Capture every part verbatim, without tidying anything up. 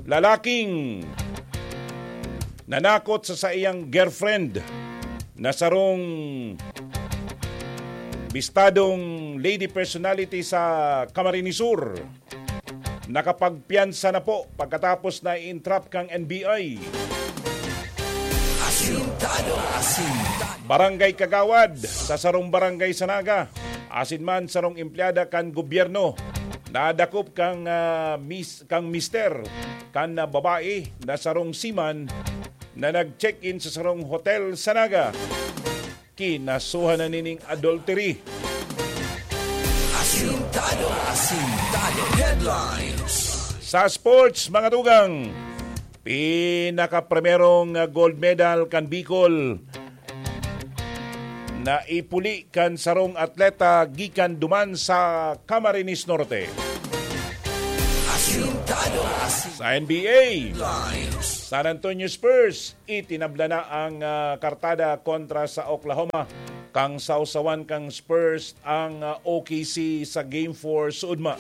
Lalaking nanakot sa saiyang girlfriend na sarong bistadong lady personality sa Camarines Sur, nakapagpiyansa na po pagkatapos na i-entrap kang N B I. Asintado, asintado. Barangay Kagawad, sa sarong barangay sa Naga, asin man sarong empleyada kan gobyerno, nadakop kang, ah, mis-, kang mister kan, ah, babae na sarong seaman na nag-check-in sa sarong hotel sa Naga. Kinasuhan na nining adultery. Asintado, asintado. Headlines. Sa sports, mga tugang, pinakaprimerong gold medal kan Bicol na ipuli kan sarong atleta gikan duman sa Camarines Norte. Asintado, asintado. Sa N B A, San Antonio Spurs, itinabla na ang, ah, kartada kontra sa Oklahoma. Kang sawsawan kang Spurs ang, ah, O K C sa Game four suodma.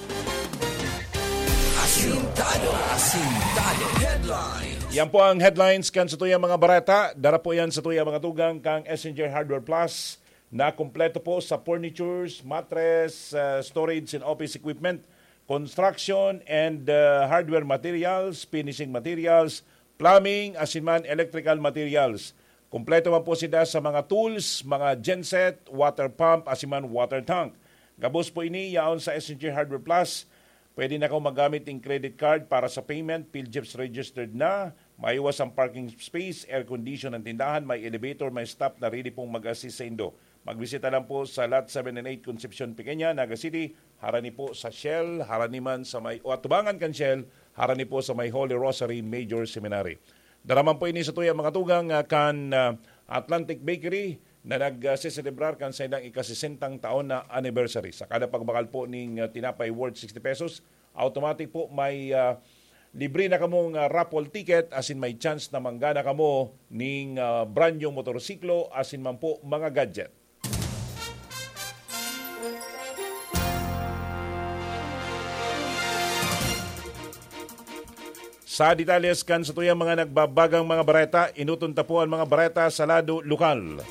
Asintado, asintado. Headlines. Yan po ang headlines kan satuyang mga bareta. Dara po yan satuyang mga tugang kang S N J Hardware Plus na kompleto po sa furnitures, mattress, ah, storage and office equipment, construction and, ah, hardware materials, finishing materials, plumbing, asin man electrical materials. Kompleto man po sila sa mga tools, mga genset, water pump, asin man water tank. Gabos po ini yaon sa S N J Hardware Plus. Pwede na kaw magamit ning credit card para sa payment, PhilGEPS registered na, may iwas ang parking space, air condition ang tindahan, may elevator, may staff na ready pong mag-assist sa indo. Magbisita lang po sa Lot seven and eight, Concepcion, Pequeña, Naga City, harani po sa Shell, harani man sa may, o atubangan kan Shell, harani po sa may Holy Rosary Major Seminary. Dara man po ini satuyang mga tugang, ah, kan, ah, Atlantic Bakery na nag, ah, seselebrar kan saindang ikasesentang taon na anniversary. Sa kada pagbakal po ning, ah, tinapay worth sixty pesos, automatic po may, ah, libre na kamong, ah, raffle ticket, asin may chance na manggana kamo ning, ah, brand new motorsiklo, asin man po mga gadget. Sa detalles kan satuyang mga nagbabagang mga bareta, enoton ta po an mga bareta sa lado lokal.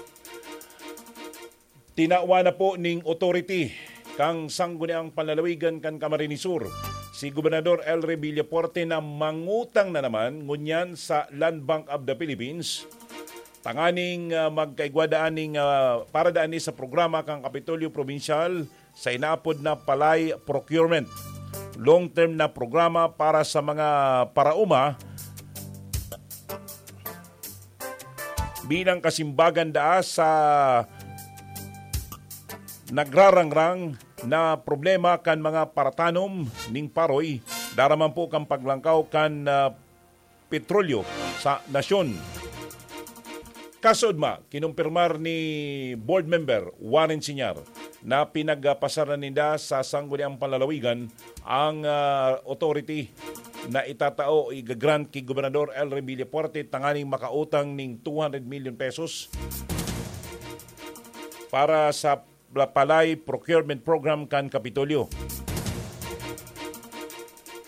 Tinawan na po ning authority kang Sangguniang Panlalawigan kan Camarines Sur, si Gobernador Elry Villafuerte, na mangutang na naman ngunyan sa Land Bank of the Philippines tanganing, ah, magkaigwa daan ning, ah, para daan ni sa programa kan Kapitolyo Probinsyal sa inaapod na palay procurement. Long-term na programa para sa mga paraoma bilang kasimbagan daa sa nagrarangrang na problema kan mga paratanom ning paroy, dara man po kan paglangkaw kan, ah, petrolyo sa nasyon. Kasuodma, kinumpirmar ni Board Member Warren Siñar na pinagpasar na ninda sa Sangguniang Panlalawigan ang, ah, authority na itatao o iga-grant ki Gobernador Elry Villafuerte tanganing makautang ning two hundred million pesos para sa Palay Procurement Program kan Kapitolyo.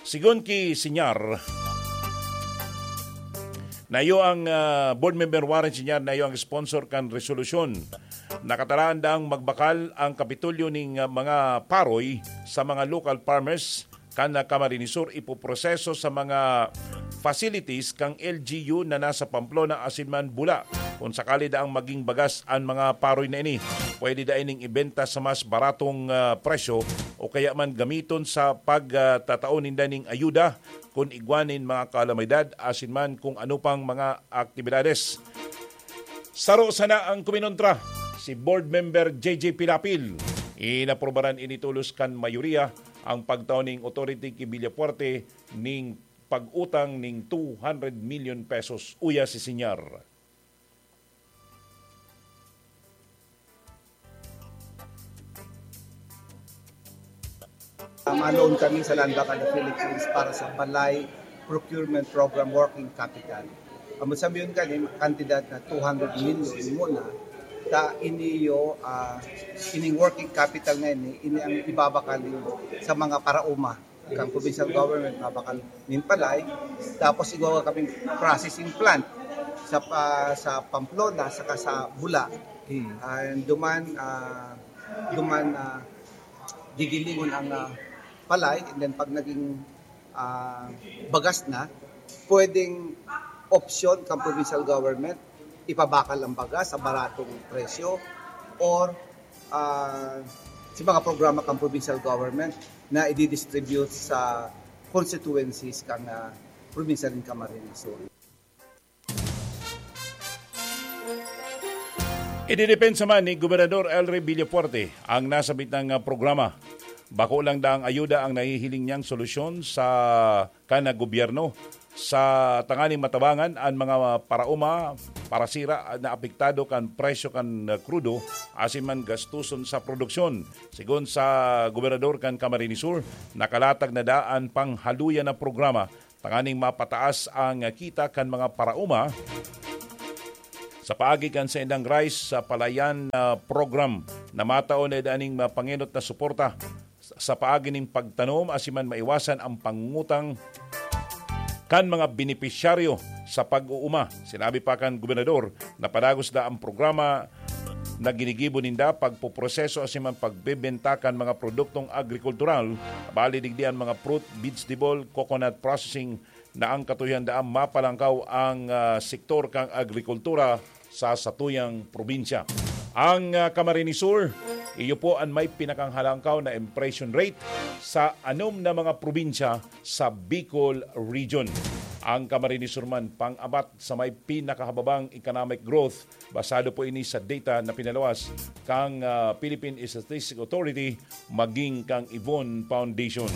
Sigon ki Siñar, na iyo ang, ah, Board Member Warren Siñar, na iyo ang sponsor kan resolusyon. Nakatalaan daang magbakal ang Kapitolyo ning, ah, mga paroy sa mga local farmers kan, ah, Camarines Sur, ipoproseso sa mga facilities kan L G U na nasa Pamplona asin man Bula. Kung sakali daang maging bagas an mga paroy na ini, pwede dai ning ibenta sa mas baratong, ah, presyo o kaya man gamiton sa pag, ah, tatao ninda ning ayuda kun igwa nin mga kalamidad asin man kung ano pang mga aktibidades. Saro sana ang kuminontra, si Board Member J J Pilapil. Inaprobaran ini tolos kan mayoriya ang pagtao ning authority ki Villafuerte ning pag-utang ning two hundred million pesos, uya si Siñar. Maloan kami sa Land Bank of the Philippines para sa Palay Procurement Program Working Capital. Ang sabihin kani, kantidad na two hundred million muna, ta iniyo, ah, ining working capital na ini, ini ang ibabakal niyo sa mga paraoma. Kan provincial government, mabakal nin palay, tapos igwa kami processing plant sa pa-, sa Pamplona saka sa Bula. Hmm. And duman, ah, duman, ah, gigilingon ang, ah, palay, and then pag naging, ah, bagas na, pwedeng opsyon kan provincial government, ipabakal ang bagas sa baratong presyo, or, ah, sa mga programa kan provincial government na i-distribute sa constituencies kan, ah, probinsya nin Camarines Sur. Ididepensa man ni Gobernador Elry Villafuerte ang nasabit na programa. Bako lang daang ayuda ang nahihiling niyang solusyon sa kan gobyerno sa tanganing matabangan an mga paraoma, parasira na apektado kan presyo kan krudo asin man gastuson sa produksyon. Sigon sa gobernador kan Camarines Sur, nakalatag na daan panghaluyan na programa tanganing mapataas ang kita kan mga paraoma sa paagi kan saindang rice sa palayan na program na matao na daning mapangenot na suporta sa paagi ning pagtanom asin man maiwasan ang pangutang kan mga benepisyaryo sa pag-uuma. Sinabi pa kan gobernador na padagos na ang programa na ginigibo ninda pagpoproseso asin man pagbebenta kan mga produktong agrikultural, bali digdi an mga fruit, vegetable, coconut processing na ang katuyan daan mapalangkaw ang, ah, sektor kan agrikultura sa satuyang probinsya. Ang, ah, Camarines Sur, iyo po an may pinakanghalangkaw na inflation rate sa anom na mga probinsya sa Bicol Region. Ang Camarines Sur man pang-apat sa may pinakahababang economic growth. Basado po ini sa data na pinaluwas kang, ah, Philippine Statistics Authority maging kang Yvonne Foundation.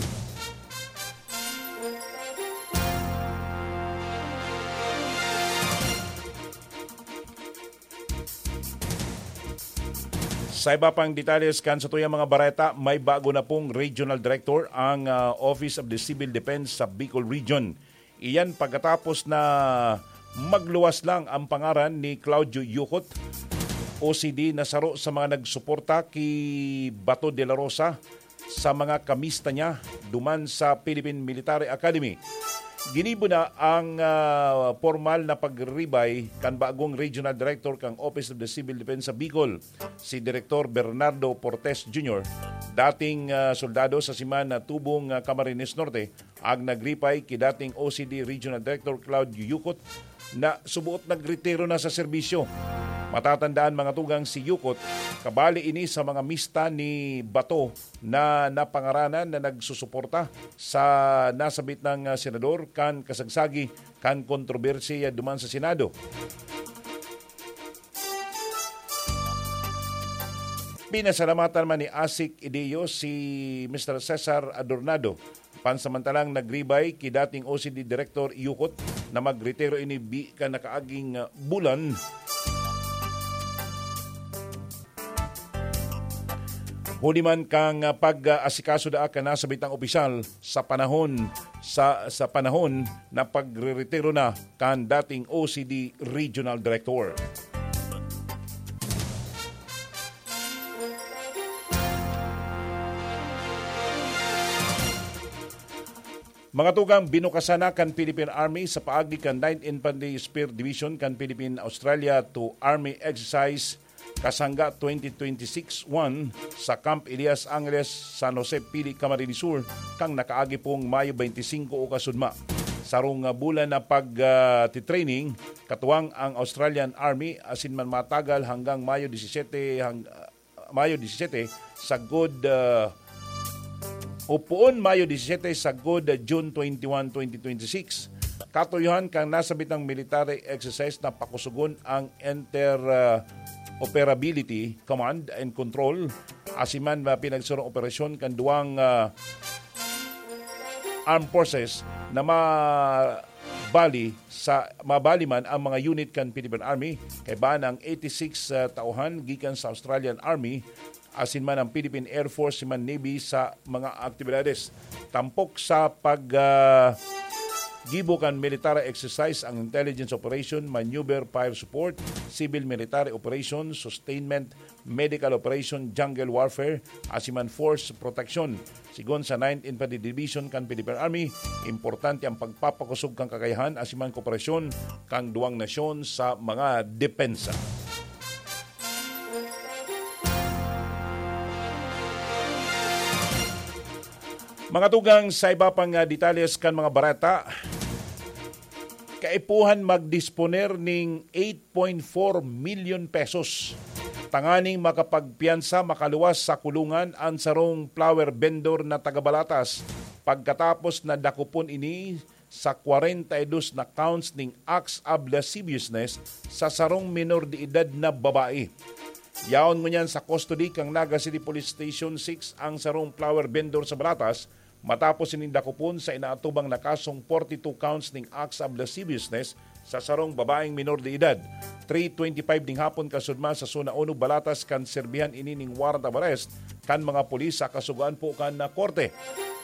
Sa iba pang detalles kan satuyang mga bareta, may bago na pong regional director ang, ah, Office of the Civil Defense sa Bicol Region. Iyan pagkatapos na magluwas lang ang pangaran ni Claudio Yucot, O C D, na saro sa mga nagsuporta ki Bato de la Rosa sa mga kamista niya duman sa Philippine Military Academy. Ginibo na ang, ah, pormal na pagribay kan bagong Regional Director kan Office of the Civil Defense sa Bicol, si Director Bernardo Portes Junior, dating, ah, soldado sa Siman na Tubong, ah, Camarines Norte, ang nagripay ki dating O C D Regional Director Claudio Yucot na subuot nagretiro na sa serbisyo. Matatandaan, mga tugang, si Yucot, kabali ini sa mga mista ni Bato na napangaranan na nagsusuporta sa nasabit na, ah, senador kan kasagsagi kan kontrobersiya duman sa Senado. Pinasalamatan man ni Asik Ideo si Mister Cesar Adornado. Pansamantalang nagribay ki dating O C D Director Yucot na magretiro ini bi kan nakaaging, ah, bulan. Huli man kan, ah, pag-aasikaso daa kan nasabitang opisyal sa panahon, sa, sa panahon na pagreretiro na kan dating O C D Regional Director. Mga tugang, binukasan na kan Philippine Army sa paagi kan Ninth Infantry Spear Division kan Philippine Australia to Army Exercise Kasangga twenty twenty-six one sa Camp Elias Angeles, San Jose, Pili, Camarines Sur, kan nakaagi pong Mayo twenty-five o kasudma. Sarong, ah, bulan na pag, ah, titraining, katuwang ang Australian Army, asin man matagal hanggang Mayo disisete hang-, Mayo disisete, sagkod, ah, o poon Mayo disisete, sagkod, ah, June twenty-one, twenty twenty-six. Katuyohan kan nasabitang military exercise na pakusugon ang inter, ah, operability, command and control, asin man, ah, pinagsurong operasyon kan duwang, ah, armed forces na ma-, bali sa, mabali man ang mga unit kan Philippine Army, kaiba ang eighty-six, ah, tauhan gikan sa Australian Army, asin man ang Philippine Air Force, si man Navy sa mga aktibidades. Tampok sa pag, ah, Gibo kan military exercise ang intelligence operation, maneuver, fire support, civil military operation, sustainment, medical operation, jungle warfare, asin man force protection. Sigon sa Ninth Infantry Division kan Philippine Army, importante ang pagpapakosog kan kakayahan asin man kooperasyon kan duwang nasyon sa mga depensa. Mga tugang, sa iba pang, ah, detalles kan mga bareta, kaipuhan magdisponer ning eight point four milyon pesos tanganing makapagpiyansa, makaluwas sa kulungan an sarong flower vendor na taga Balatas pagkatapos na dakopon ini sa kwarenta y dos na counts ning acts of lasciviousness sa sarong minor de edad na babae. Yaon ngunyan sa custody kan Naga City Police Station six ang sarong flower vendor sa Balatas matapos ining dakopon sa inaatubang na kasong forty-two counts ning acts of lasciviousness sa sarong babaeng minor de edad. Three twenty-five ning hapon kasudma sa Zona Uno, Balatas, kan serbihan ini ning warrant of arrest kan mga pulis sa kasugoan po kan, ah, korte.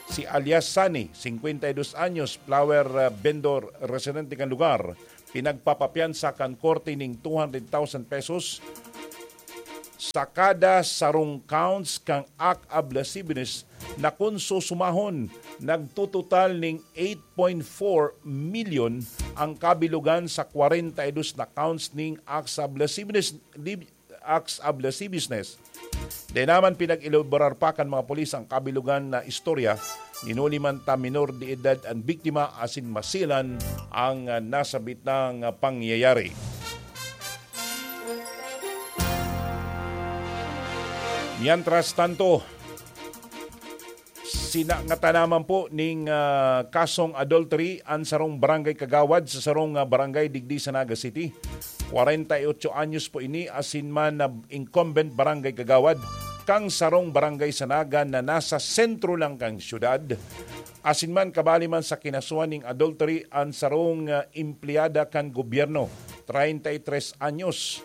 Si alias Sunny, singkwenta y dos anyos, flower, ah, vendor, residente kan lugar, pinagpapapiyansa kan korte ning two hundred thousand pesos sa kada sarong counts kan act of lasciviousness na kun susumahon, nagtutotal ning eight point four milyon ang kabilugan sa kwarenta y dos na counts ning acts of lasciviousness, acts of lasciviousness. Dai naman pinag-elaborar pa kan mga pulis ang kabilugan na istorya, hinuli man ta minor de edad an biktima asin masilan ang, ah, nasabitang, ah, pangyayari. Mientras tanto, sinangatan naman po ning, ah, kasong adultery an sarong barangay kagawad sa sarong, ah, barangay digdi sa Naga City. Kwarenta y otso anyos po ini, asin man na incumbent barangay kagawad kan sarong barangay sa Naga na nasa sentro lang kan syudad. Asin man, kabali man sa kinasuhan ning adultery an sarong, ah, empleyada kan gobyerno, treinta y tres anyos,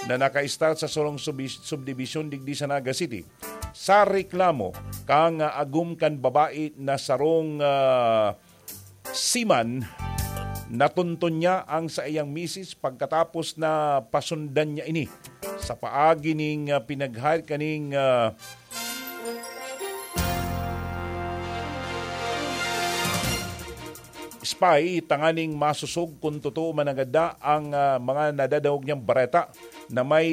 na nakaistar sa sarong subi-, subdibisyon digdi sa Naga City. Sa reklamo kan, ah, agom kan babae na sarong, ah, seaman, natunton niya ang saiyang misis pagkatapos na pasundan niya ini sa paagi ning, ah, pinag-hire kaning, ah, spy tanganing masosog kun totoo man nanggad na ang, ah, mga nadadangog niyang bareta na may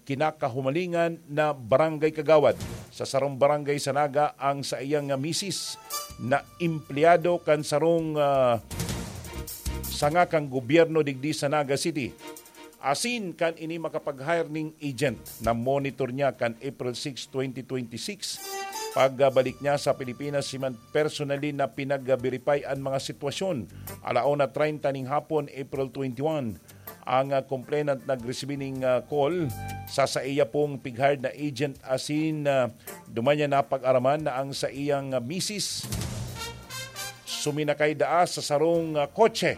kinakahumalingan na barangay kagawad sa sarong barangay sa Naga ang saiyang, ah, misis na empleyado kan sarong, ah, sanga kan gobyerno digdi sa Naga City. Asin kan ini makapag-hire ning agent na monitor niya kan April six, twenty twenty-six, pagbalik niya sa Pilipinas, siman personally na pinag-verify an mga sitwasyon. Alauna treinta ning hapon, April twenty-one, ang, ah, complainant nagresibi ning, ah, call sa saiya pong pig-hired na agent asin, ah, duman niya napag-araman na ang saiyang, ah, misis suminakay daa sa sarong, ah, kotse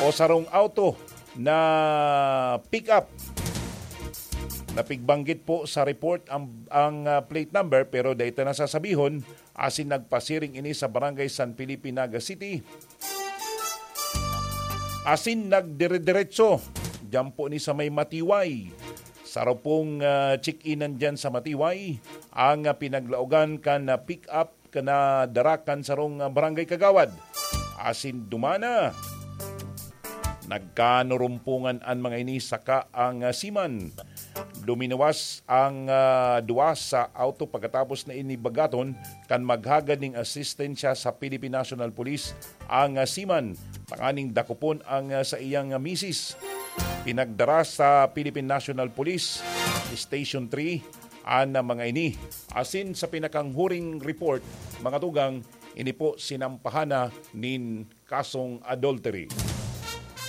o sarong auto na pick-up. Napigbanggit po sa report ang, ang, ah, plate number, pero dai ta na sasabihon, asin nagpasiring ini sa Barangay San Felipe, Naga City. Asin nagdire-diretso diyan po ni sa may Matiway. Saro pong, ah, check-inan diyan sa Matiway ang, ah, pinaglaogan kan, ah, pick-up kan, ah, dara kan sarong, ah, barangay kagawad. Asin dumana, nagkanurumpungan an mga ini saka ang, ah, seaman. Luminuwas ang, ah, duwa sa auto pagkatapos na ini bagaton kan maghagad ning asistensya sa Philippine National Police ang, ah, seaman tanganing dakopon ang, ah, saiyang, ah, misis. Pinagdara sa Philippine National Police Station three an, ah, mga ini. Asin sa pinakanghuring report, mga tugang, ini po sinampahan na nin kasong adultery.